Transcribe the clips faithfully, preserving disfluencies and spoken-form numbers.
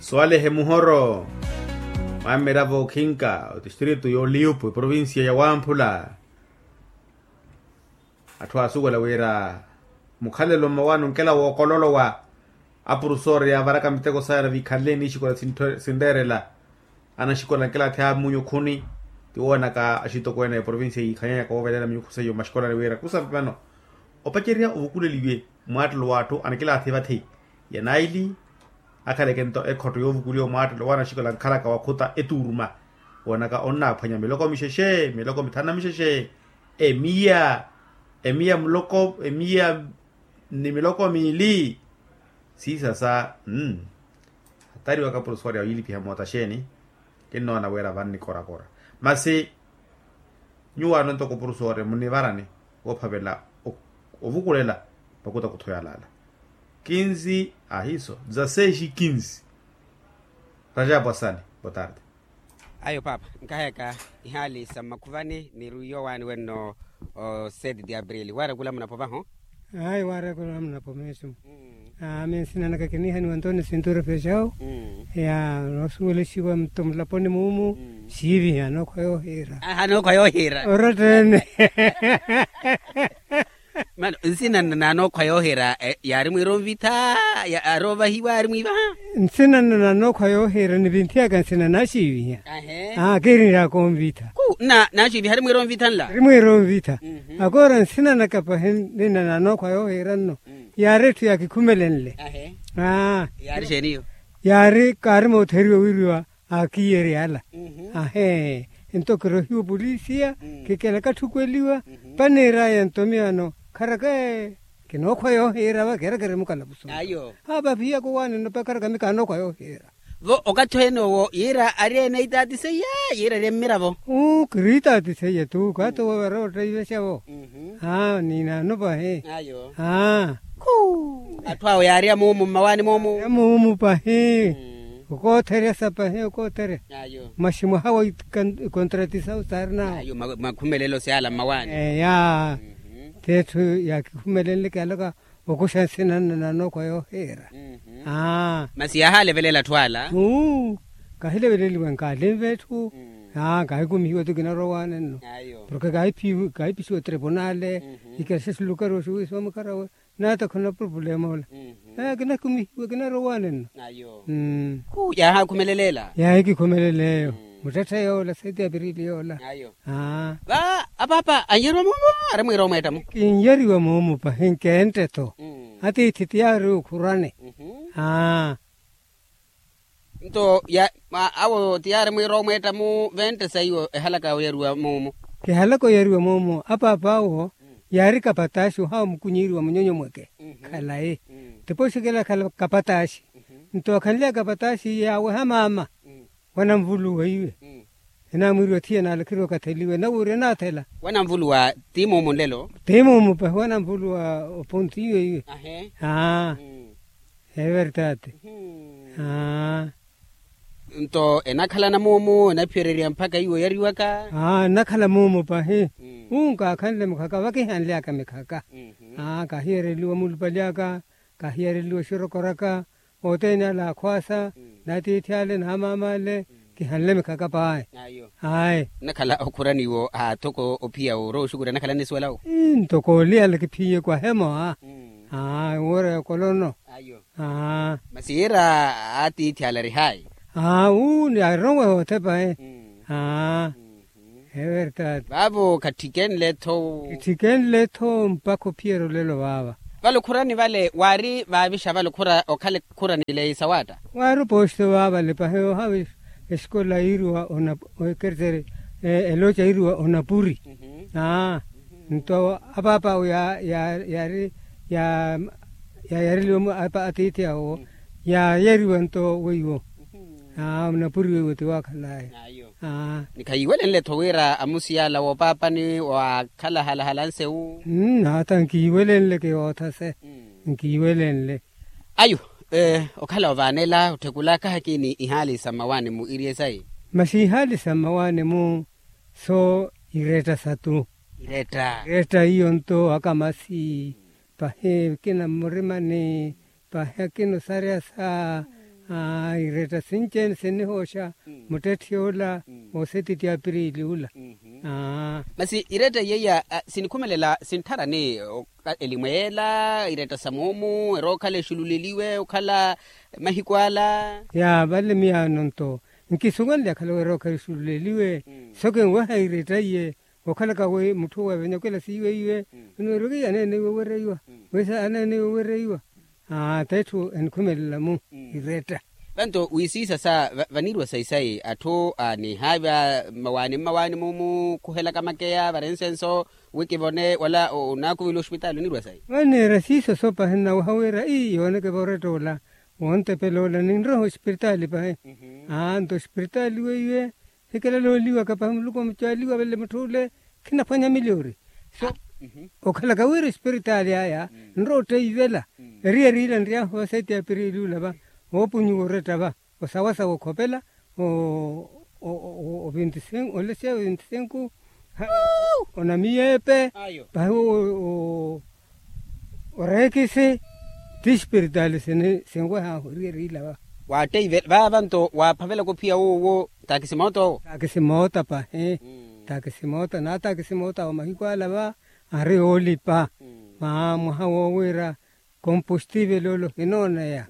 Swalehe muhoro, mwamiravo okhinka otistritu y'oliyupu eprovincia ya wamphula. Atthu aasuwela wira mukhalelo mmawaani onkela wookololowa. Apurusoori yaavaraka miteko saya na viikhanle niixikola sinreerela. Anaxikola nkela athi amunyu khuni. Tiwoonaka axitokweene a eprovincia yiikhanyanyaka woovelela minyukhu seiyo mmaxikolani wira kusa vano opacerya ovukuleliwe, mwaattelo w'atthu anikilaathi vathi ya naili. Akhaleke nto ekhotto yoovukuliwa mwaattelo waana axikola ankhalaka wakhuta etuuruma. Woonaka onnaaphwanya miloko mixexe miloko mithanu na mixexe. Emiya emiya muloko emiya ni miloko miili. Siisasa. Hatari waka purusu wari awiilipiha moota xeeni? Kinnoona wira vanni korakora. Masi nyuwaano ntoko purusu wari munivarani woophavela ovukulela makutakutho yalaala. Kinzi ahiiso dzaseexi kinzi. Rajapwasani. Botarde. Ayo paapa, nkaheka ihaali sa mmakhuvani ni rwiyo waani wenno. Seti ti aprili waarekula munapo vaho. Ayi waarekula munapo meesu. Ami nsina naka kiniihaniwa ntoni sintura fexawu. Ya noosuwelexiwa mutto mulaponi muumu. Siiviha nookhwa yoohiira. Aha nookhwa yoohiira. Orotteene. Mano nsina nna na nookhwa yoohiira. Yaari mwiira onvitha? Yaari ovahiwa yaari mwiivaha? Nsina nna na nookhwa yoohiira nivinthiyaka nsina naaxiiviha. Kiirinryaka onvitha. Ku nna naaxiiviha ari mwiira onvitha nla. Ari mwiira onvitha. Akoora nsina naka pahi nina na nookhwa yoohiira nno. Yaari etthu yaakikhumelenle. Yaari kaari mootheriwa wiriwa. Aakiiyerya ala. Ahee. Nto kirohiwa opolisiya. Kikela katthukeliwa. Paniiraya nto miyo ano kharaka ee kinookhwa yoohiira va keera kerimukalapusu. Ayo. Aa paphiyaka owaani nno pakharaka mi kaanookhwa yoohiira. Vo okathi ohenoowo yiira ari ene itaati seiya? Yiira ari emmiravo. Uu kiri itaati seiya tu kaati owo vara ottaivexa vo. Aa ninaano pahi. Ayo. Aa. Khu atthu awo yaari amuumu mmawaani moomu. Amuumu pahi. Okootherya sa pahi okootherya. Masi mwaha wa ikontratisa osaari nawo. Makhumelelo syala mmawaani. Eya. Ti etthu yaakikhumelenle kiyalaka okuxa nsina nna na nookhwa yoohiira. Masi yaahalevelela atthu ala. Kahileveleliwe nkaalinve etthu. Kahikumihiwa ti kinarwa owaani nno. Porke kahipixiwa otripunale. Ikelexa xilukari oxiwiisa omukharawe. Naata khuna purupulema ola. Kinakumihiwa kinarwa owaani nno. Yaahaakhumeleleela. Yaahikikhumeleleeyo. Muttetthe yoola seti apirili yoola. Va apaapa anyeriwa moomo? Ari mwiira omweetta-mo. Kinyeriwa moomo pahi nkentte-tho. Atiithi tiyaari okhurani. Nto awo tiyaari mwiira omweetta-mu ventte saiwo ehalaka oyariwa moomo. Kihalaka oyariwa moomo apaap'awo. Yaari kapataaxi ohawa mukunyiiriwa munyonyo mweke. Khalayi. Tipoxi kela khala kapataaxi. Nto akhanly'aka kapataaxi yaaweha maama. Wananvuluwa iwe. Enamwiiriwa thiya naalakheriwa katheliwe nawuurya naathela. Wananvuluwa ti muumu nlelo. Ti muumu pahi wananvuluwa opontiwe iwe. Aa. Evertati. Aa. Nto enakhalana muumu enaphiyereryaya mpakha iwo yariwaka. Aa nnakhala muumu pahi. Uu nkaakhanle mikhaka vakihanly'aka mikhaka. Aa kaahiyereliwa mulupali aka. Kaahiyereliwa oxirokoraka. Othene ale akhwaasa n'atiithi ale n'amaama ale. Kihanle mikhaka paayi. Ayi. Nnakhala okhurani iwo aathoko ophiya orowa oxukuri anakhala nisuwela wo. Ntoko oliyala kiphiye kwahemo a. Aa woora yokolono. Masi yiira atiithi ale ari hayi. Aa uu ni arowa yoothe payi. Aa. Evertati. Vaavo khattikenle-tho. Khattikenle-tho mpakha ophiyerya olelo vaava. Vale okhurani vale waari vaavixa vale okhura okhale khurani leyi sawaatta. Waari opooxito vaavale pahi ohavi. Esikola yiiriwa onapu ekereteri elooca yiiriwa onapuri. Aa. Nto apaapa awo yaari yaayareliwa atiithi awo. Yaayariwa nto weiwo. Aa onapuri weiwo ti waakhal'aya. Aa. Ni khayiiwelenle-tho wira amusiyala woopaapani waakhala halahala nsewu. Nata nkiiwelenle kiwoothase. Nkiiwelenle. Ayo. Okhala ovaanela otthekula kahakiini ihaali sa mmawaani-mu iriye sayi. Masi ihaali sa mmawaani-mu so iretta satu. Iretta iyo nto akamasi. Pahi akina mmurimani. Pahi akina osaryasa. Iretta sinci-ene sinnihooxa muttetthi ola, osetiti apirili ula. Masi iretta iye iya sinikhumelela sinttharani? Elimu ela iretta sa moomu erookhala exululeliwe okhala mahiku ala. Ya vale miyaano nto nkisuwenle akhala werookhala exululeliwe. Soke nweha iretta iye okhalaka wi mutthu weevenyakwela siiweiwe. Nweeryoke aneeneiwe owereiwa wisa aneeneiwe owereiwa. Aa t'etthu enikhumelela-mu iretta. Vanto wisiisa sa vanirwa sayi-sayi atthu anihaavi a mmawaani mmawaani mumukhuhelaka makeya varensenso wi kivone wala onaakuvela ospitaali onirwa sayi. Vaneera siiso sopahi nnaweha wira ii yooneke voretta ola wontepela ola ninroha ospitaali pahi. Aa nto ospitaali weiwe hikilalooliwaka pahi muluku omucaaliwa vale mutth'ule khinaphwanya miliori. So okhalaka wira espiritaali aya nrowa otteivela eriyari ila nryahu va seti ya apirili ula va oopunyiwa oretta va osawasawa okhopela o ventisenku olesia ventisenku onamiyeepe pahi oreekisi ti espiritaali sini sinwehaahu eriyari ila va. Waatteive vaava nto waaphavelaka ophiya woowo. Taakisi moota owo. Taakisi moota pahi. Taakisi moota naataakisi moota awo mahiku ala va ari oolipa. Mwaha woowiira kompostivele ole ohinooneya.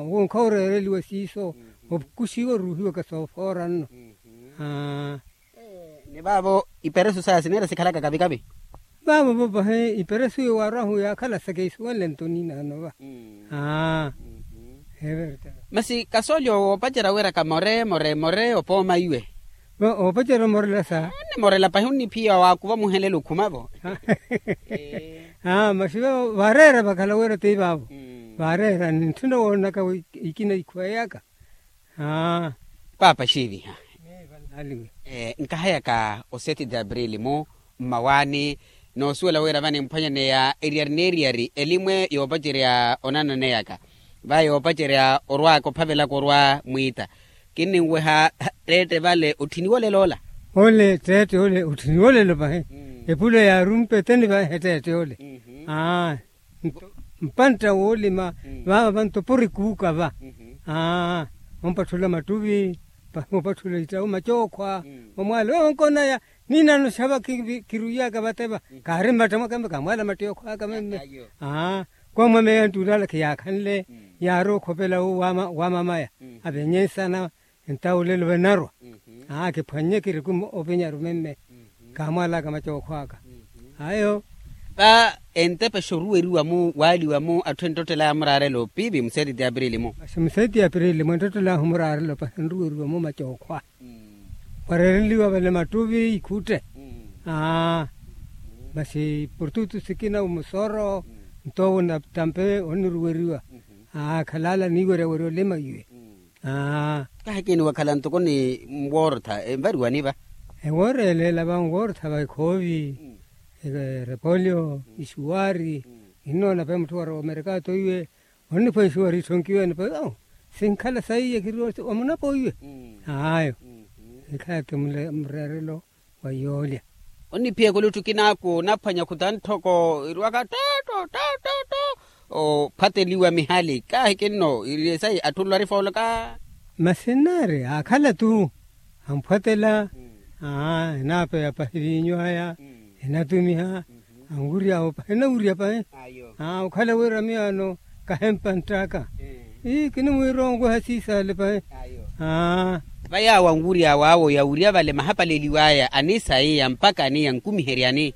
Owo nkhaworeereliwa siiso ovukuxiwa oruuhiwaka soofoora nno. Ni vaavo iperesu saya sineera sikhalaka kavi-kavi. Vaavo vo pahi iperesu iyo waarwahu yaakhala sa keisuwenle nto ninaano va. Masi kasoolyo woopacerya wira kamore more more opooma iwe. Oopacerya omorela sa. Onimorela pahi onniphiya waakuva muhelela okhuma vo. Masi vaavo vaareera vakhala wira ti vaavo vaareera nintthuna woonaka ikina ikhuwa yaka. Paapa xiiviha. Nkahayaka oseti de aprili mu mmawaani noosuwela wira vaninphwanyaneya eriyari n'eriyari elimwe yoopacerya onananeyaka va yoopacerya orwaaka ophavelaka orwa mwiita. Kinninweha tteette vale otthiniwa olelo ola. Ole tteette ole otthiniwa olelo pahi. Epula yaarumpa eteni vahe tteette ole. Mpantta woolima vaava vanto porikuuka va. Ompatthula mattuvi pahi opatthula ittawu macookhwa. Omwaala oyo onkonaya ninaano xava kiruiyaka vateva kaari mmatta mwaka kamwaala mattiokhwaka memme. Kwamwameya nttuulala khiyaakhanle yaari okhopela wu wamamaya avenye nsana. Entawu olelo vanarwa aa kiphwannye kirikume ovinyaru memme. Kaamwalaka macookhwaka ayo. Va entepexa oruweriwa-mu waaliwa-mu atthu enttottela yaamuraarela opiipi museeti ti apirili-mu. Masi museeti ti apirili-mu enttottela yaahu muraarela opahi enruweriwa-mu macookhwa. Wareereliwa vale mattuvi ikhutte. Aa masi portutu sikina omusoro nto owo natampe oniruweriwa. Aa khalaala niiweryawerya olima iwe. Kahikini wakhala ntoko ni nwoorotha envariwani va. Enwoorelela va nwoorotha va ekhoovi erepolio ixuwari. Innoona pe mutthu wari omerikato iwe onniphwa ixuwari itthonkiwene pe sinkhala saiye kiri omunapo iwe. Ayo ekhala ti mureerelo wa yoolya. Onniphiyaka ole otthu kinaaku onaphwanya khuta ntthoko irwaka toto toto ophwateliwa mihali kahikinno iri esayi atthu olwari fooloka. Masi nnaari aakhala-tu amphwatela. Enaapeya pahi viinyu aya enatumiha. Anwurya awo pahi enawurya pahi. Okhala wira miyaano kahempa nttaka ii kinimwiira onweha siisale pahi. Va yaawo anwurya awo awo yawurya vale mahapaleliw'aya anisaiya mpakha ani yankumiheryani.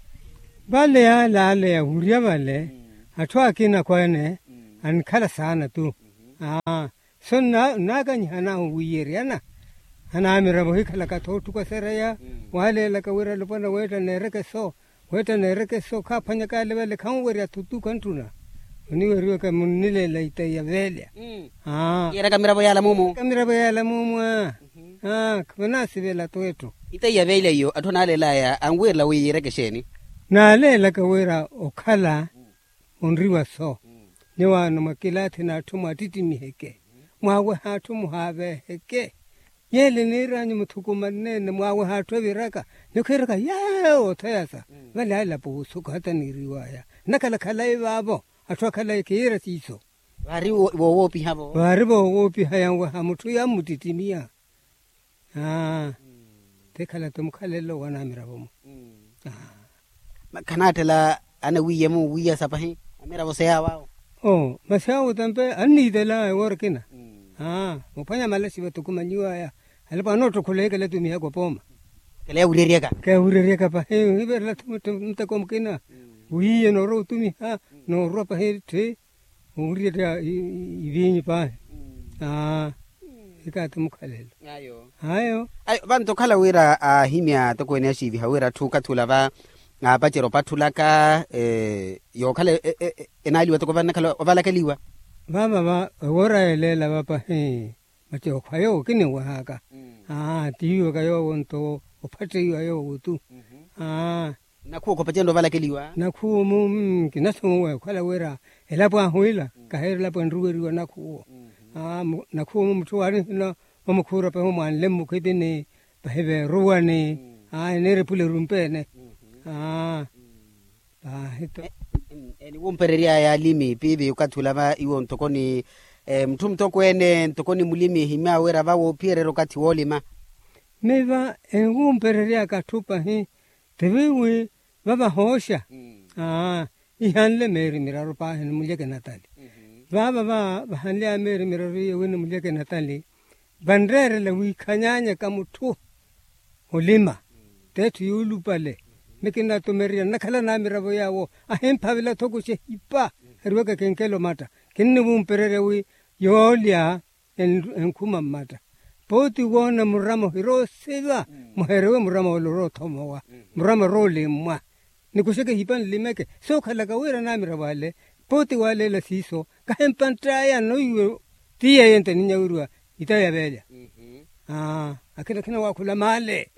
Vale yaale ale yawurya vale atthu akina akhweene anikhala saana-tu. Aa so nnaakanyiha nahu wiiyeryana anaamiravo ohikhalaka-tho otthuka sereya. Waaleelaka wira alopwana weetta neereke so weetta neereke so khaaphwanyaka ale vale khanwerya-thu tu khanttuna. Oniweriwaka munnileela itaiya veelya. Yeeraka miravo yaala muumu. Yeeraka miravo yaala muumu aa. Aa vanasivela-tu etthu. Itaiya veelya iyo atthu anaaleelaya anwirela wi yiireke exeeni? Naaleelaka wira okhala onriwa so. Nyuwaano mwakilaathi n'atthu mwaattittimiiheke mwaaweha atthu muhaaveeheke. Yeele niir'anyu muthukumanne-ene mwaaweha atthu eviraka. Nikhiiraka yeewo otheyasa vale alapo wosuka hata niiriw'aya nnakhala khalayi vaavo. Atthu akhalayi khiira siiso. Vaari woowoopiha-vo. Vaari voowoopiha yanweha mutthu yammuttittimia. Aa. Tikhala-tho mukhalelo wa namiravo-mo. Khanaattela anawiiye-mo wiiyasa pahi amiravo seyaawawo. Oo masi awo tampe anniitela ewoora ekina. Aa muphwanya malaxi vathukumanyiwaya alapo anoottokhola ekela tumihaka opooma. Kela yawureryaka. Kela yawureryaka pahi hiverela-tho muteko mukina. Wiiye noorwa otumiha noorwa pahi tthi. Owurya etta iviinyu paahi. Aa. Ikaati mukhalelo. Ayo. Ayo. Vantu okhala wira aahimya atokweene axiiviha wira atthu okathi ula va aapacerya opatthulaka yookhala enaaliwa toko vannakhala ovalakeliwa. Vaava va ewoora yeeleela va pahi macookho ayo kinniwehaka. Aa tiiwaka yoowo nto ophatteiwa yoowo tu. Aa. Nakhuwa okhopa cento ovalakeliwa. Nakhuwa-mu kinasuwa okhala wira elapo ahu ila kahiira elapo enruweriwa nakhuwa. Nakhuwa-mu mutthu waari ohina omukhuura pahi omwaanle mmukhwipini pahi veeruwani. Aa eniira epula erumpeene. Aa. Paahi-tho. Eniwumpereryaya alimi piivi okathi ula va iwo ntoko ni mutthu mutokweene ntoko ni mulimi ehimyaawe wira va woophiyererya okathi woolima. Miva eniwumpereryaka atthu pahi tiviwi vavahooxa. Aa ihanle meeri miraru paahi ni mulyeke natali. Vaava va vahanly'aya meeri miraru iye wi ni mulyeke natali vanreerela wiikhanyaanyaka mutthu olima t'etthu yuulupale. Mikinatumererya nnakhala namiravo yaawo ahimphavela-tho kuxa ehipa ariwaka ekenkelo matta kinniwumpererya wi yoolya enkhuma mmatta. Pooti woona murama ohira osiva muherewe murama ole oroothomowa murama orooleemmwa. Nikuxeke ehipa nlimeke sookhalaka wira namiravo ale pooti waaleela siiso kahempantt'aya noiwe ti yeeyo nto eninyaweriwa itayi ya veelya. Aa akhina akhina waakhula maale.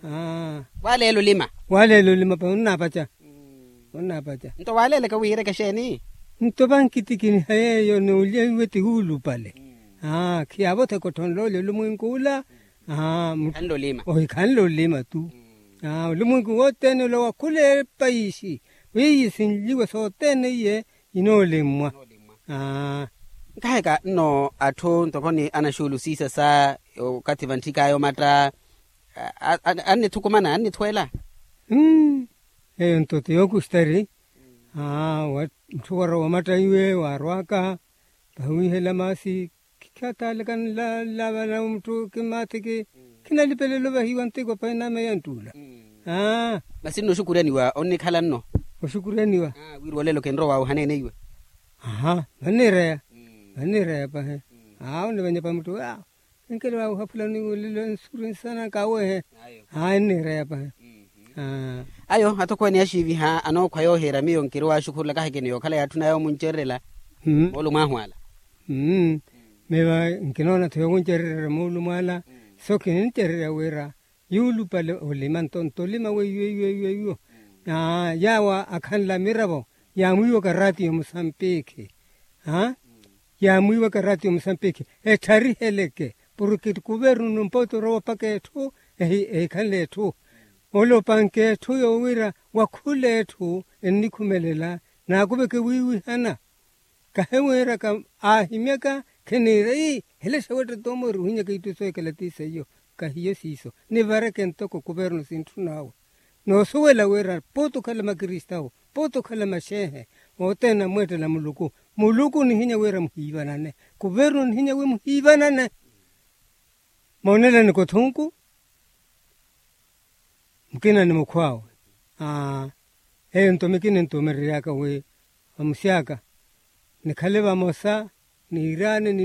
Aa waaleela olima. Waaleela olima pahi onnaapaca. Onnaapaca. Nto waaleelaka wiireke exeeni? Nto vankitikiniha yeeyo noolya iwe ti wuulupale. Aa khiyaavotheka otthonloolya olumwenku ula. Aa ohikhanle olima tu. Aa olumwenku wothene ula wakhula epaisi weiye sinliwa sothene iye inoolemmwa. Aa. Nkaheka nno atthu ntoko ni anaxuulu siisasa okathi vantthik'aya omatta annithukumana annithweela. Eyo nto ti yookustari. Aa mutthu warowa omatta iwe waarwaka pahi wiihela maasi. Khikhatalaka nlala vana mutthu kimaathiki khinalipelelo vahiwa ntiko pahi nameya ntt'ula. Aa masi nno oxukuryaniwa onnikhala nno. Oxukuryaniwa. Wiiri wolela okinrowa wauhaneene iwe. Aha vanniireya. Vanniireya pahi. Aa onnivanyepa mutthu aa enkelo wauha fulani wolelo nsuri nsana nkaawehe. Aa enniireya pahi. Ayo atokweene axiiviha anookhwa yoohiira miyo nkiri waaxukhurula kahikini yookhala yaatthunaya omuncererela. Moolumo ahu ala. Miyo nkinoona-tho yowuncererela moolumo ala. So kinincererya wira yuulupale olima nto nto olima weiwo eiwo eiwo eiwo. Yaawo akhanle amiravo yaamwiiwaka raatiyo musampikhi. Yaamwiiwaka raatiyo musampikhi etthariheleke porke kuvernu nompooti orowa opaka etthu ehikhanle etthu. Ole opanke etthu yowira wakhule etthu ennikhumelela naakuveke wiiwihana. Kahi wiiraka aahimyaka khiniira ii helexa wetta toomoori ohinyaka itthu soohikhala ti seiyo. Kahiyo siiso nivareke ntoko kuvernu sintthun'awe. Noosuwela wira pooti okhala makristawo pooti okhala maxeehe othene anamweettela muluku. Muluku onihinya wira muhiivanane kuvernu onihinya wi muhiivanane. Moonelani kothunku mukina ni mukhw'awe. Aa eyo nto mikina entumereryaka wi vamusi aka nikhale vamosa niiraane.